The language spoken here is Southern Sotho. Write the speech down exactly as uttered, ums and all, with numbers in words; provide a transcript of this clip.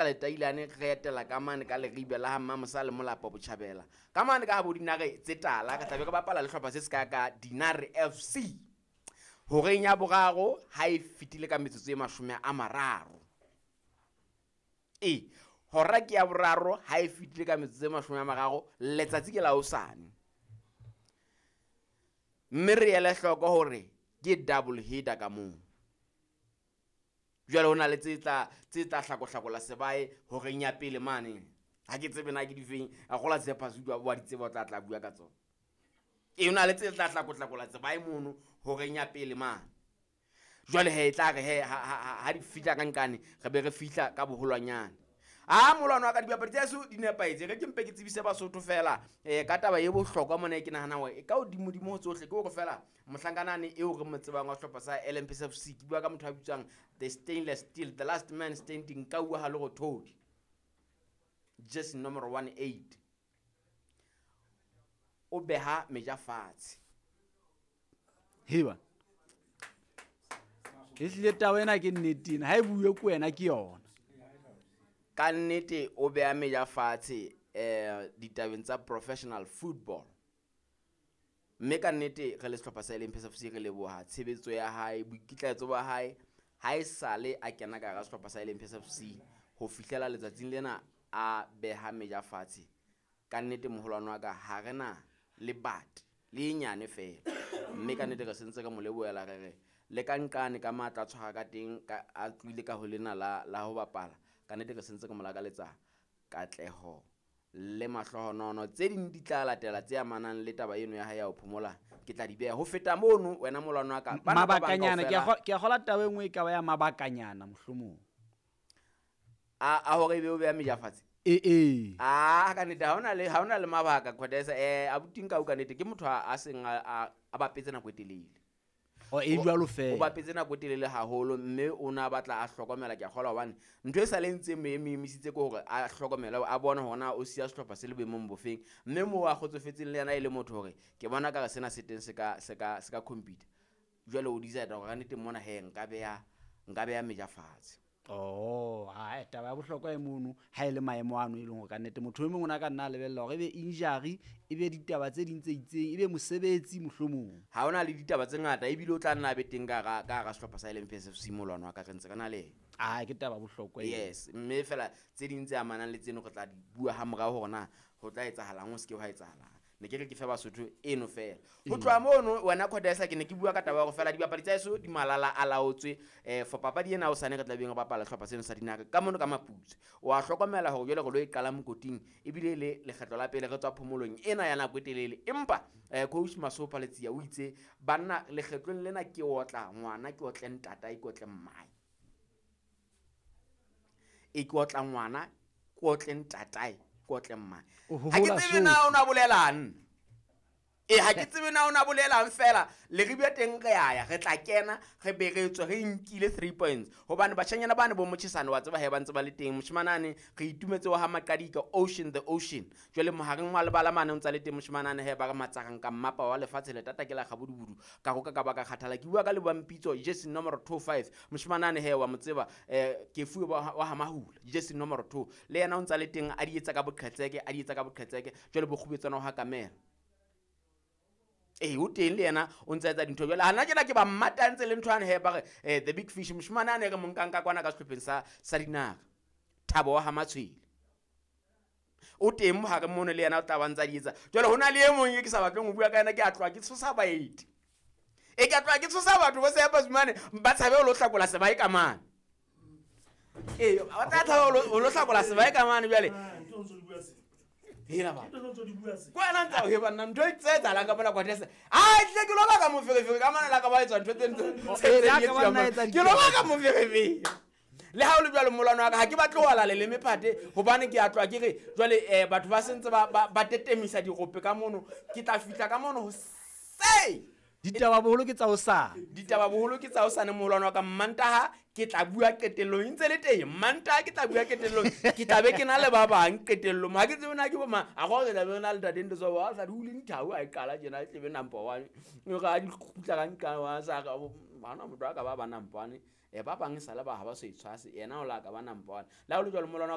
Letailane re etela ka mane ka Leribe la ha Mmamosa le Molapo Botjhabela. Ka mane ka habo Dinare tse tala re tlabe re bapala le hlopha se se ka ka Dinare F C. Horeng ya boraro ha e fetile ka metsotso e mashome a mararo. E hora ke ya boraro ha e fetile ka metsotso e mashome a mararo letsatsi ke la hosane. Mme re ele hloko hore ke double header ka moo. Jwale hona le tse tla, tse tla hlakohlakola sebae horeng ya pele mane. Ha ke tsebe na ke difeng, a kgola Tshepa Zulu wa di tseba o tla tla bua ka tsona. E hona le tse tla hlakohlakola sebae mono horeng ya pele mane. Jwale he e tla re he, ha, ha, ha, ha di fihla ka nkane, re be re fihla ka boholwanyane. Ah, molwano wa ka dibapadi tsa heso di nepahetse. Re ke mpe ke tsebise Basotho fela, eh, ka taba e bohlokwa mona e ke nahana hore e ka hodimodimo ho tsohle ke hore fela mohlankanane eo re mo tsebang wa sehlopha sa L M P S F C, ke bua ka motho a bitswang the stainless steel, the last man standing, ka bua ha Lerothodi, jersey number one eight, o beha meja fatshe. Heba. Ehlile taba ena ke nnete ena, ha e bue ke wena ke yona. Ka nnete o beha meja fatshe, eh, ditabeng tsa professional football. Mme ka nnete re le sehlopha sa L M P S F C re leboha tshebetso ya hae, boikitlaetso ba hae ha e sale a kena ka hara sehlopha sa L M P S F C ho fihlela letsatsing lena a beha meja fatshe. Ka nnete moholwane wa ka ha re na le bate le e nyane feela. Mme ka nnete re sentse re mo lebohela re re le ka nqane ka matla a tshwara ka teng, ka, a tlohile ka ho lena la, la ho bapala. Ka nnete re sentse re mo lakaletsa katleho le mahlohonono. Tse ding di tla latela tse amanang le taba eno ya hae ya ho phomola, ke tla di beha. Ho feta mono wena molwano wa ka, bana ba bang Mabakanyana, ke a kaofela kgo-, ke a kgola taba e nngwe e ka ba ya mabakanyana mohlomong. A, a hore ebe o beha meja fatshe? E, e. Ah, ka nnete, ha hona le, ha hona le mabaka, Khodesa. Eh, abuti Nkau ka nnete ke motho a, a seng a, a, a bapetse nako e telele. O, e O- jwalo feela. O bapetse nako e telele haholo, mme o na batla a hlokomela, ke a kgolwa hobane ntho e sa le ntse e mo emisitse ke hore a hlokomele, a bone hore na o siya sehlopha se le boemong bofeng. Mme moo a kgotsofetseng le yena e le motho hore ke bona ka re sena se teng se ka, se ka, se ka computer. Jwale o decide hore kannete mona he nka beha, nka beha meja fatshe. Oh, ha, taba ya bohlokwa e mono, ha e le maemo ano e leng hore kannete motho e mong o na ka nna a lebella hore ebe injury, ebe ditaba tse ding tse itseng, ebe mosebetsi mohlomong. Ha hona le ditaba tse ngata, ebile o tla nna a be teng ka hara, ka hara sehlopha sa L M P S F C molwano wa ka, re ntse re na le yena. Ah, ke taba bohlokwa eo. Yes, mme fela tse ding tse amanang le tseno re tla di bua ha morao hore na ho tla etsahalang, ho se ke hwa etsahalang. Ne ke re ke fe Basotho eno fela. Ho Ee. tloha mono wena Khodesa, ke ne ke bua ka taba ya hore fela dibapadi tsa heso di malala a laotswe, eh, for papadi ena hosane re tla beng re bapala sehlopha seno sa Dinare ka mono ka Maputswe. O a hlokomela hore jwale re lo e qala mokoting, ebile le lekgetlo la pele re tswa phomolong ena ya nako e telele. Empa, eh, coach Masopa Letsia o itse banna lekgetlong lena ke otla ngwana, ke otle ntatae, ke otle mmae. E ke otla ngwana, ke otle ntatae, ke otle mmae. O Ha ke hohola tsebe na sohle. o na bolelang. E, ha ke tsebe na o na bolelang fela. Leribe teng re a ya, re tla kena, re be re tswe, re nkile three points. Hobane batjhanyana bane bo Motjhesane wa tseba he ba ntse ba le teng. Moshimanane re itumetse wa ha Maqadika, Ocean the Ocean. Jwale mohareng wa lebala mane o ntsa le teng moshimanane he ba re matsarang ka mmapa wa lefatshe le tata ke la kgabudubudu. Ka roka ka ba ka kgathala. Ke bua ka Lebohampitso, jersey number two five. Moshimanane he wa mo tseba, eh, Kefuwe wa, wa ha Mahula, jersey number two. Le yena o ntsa le teng a di etsa ka boqhetseke, a di etsa ka boqhetseke. Jwale bokgubetsana wa ha Kamela. Ee, o teng le yena o ntsa etsa dintho jwale. Hana tjena ke ba mmatantse le ntho yane he ba re, eh, the big fish, moshemane a ne re mo nkang ka kwana ka sehlopheng sa, sa Dinare. Thabo wa ha Matshwele. O teng mohare mono le yena o tla ba ntsa di etsa. Jwale ho na le e mong e ke sa batleng ho bua ka yena, ke a tloha ke tshosa baeti. E ke a tloha ke tshosa batho bo Seepa Zumane, ba tshabe ho lo hlakola sebae ka mane. Ee, ba tla tshaba ho lo, ho lo hlakola sebae ka mane jwale. Ah, ntho ntse di bua se. Hela ba. Ntho ntse di bua se. Ko wena ntsa o he banna, ntho e tse etsahalang ka mona kwa Tese. Ah, tlile ke lo baka moferefere ka mona la ka ba etsa ntho tse ntse Oh, tse eh, tse la di ka ba etsuwang nna mona. etsa Ke lo dintho. baka moferefere. Le ha o le jwalo molwano wa ka, ha ke batle ho ala leleme phate, hobane ke a tloha ke re, jwale, eh, batho ba sentse ba, ba, ba tetemisa dirope ka mono. Ke tla fihla ka mono hoseng. Ditaba boholo ke tsa hosane. Ditaba boholo ke tsa hosane molwano wa ka. Mmantaha ke tla bua qetellong, e ntse le teng. Mmantaha ke tla bua qetellong, ke tla be ke na le ba bang qetellong. Ha ke tsebe na ke bo mang. A go re tla be re na le ntate Ntoso, wa sa dule dithau, a e qala tjena, e tlebe number one. E re ha di kgutla ka nqa, wa sa re, oh, bana motho a ka ba ba number one. Eh, ba bang e sale ba ha ba so e tshwase, yena o la ka ba number one. Le ha ho le jwalo molwano wa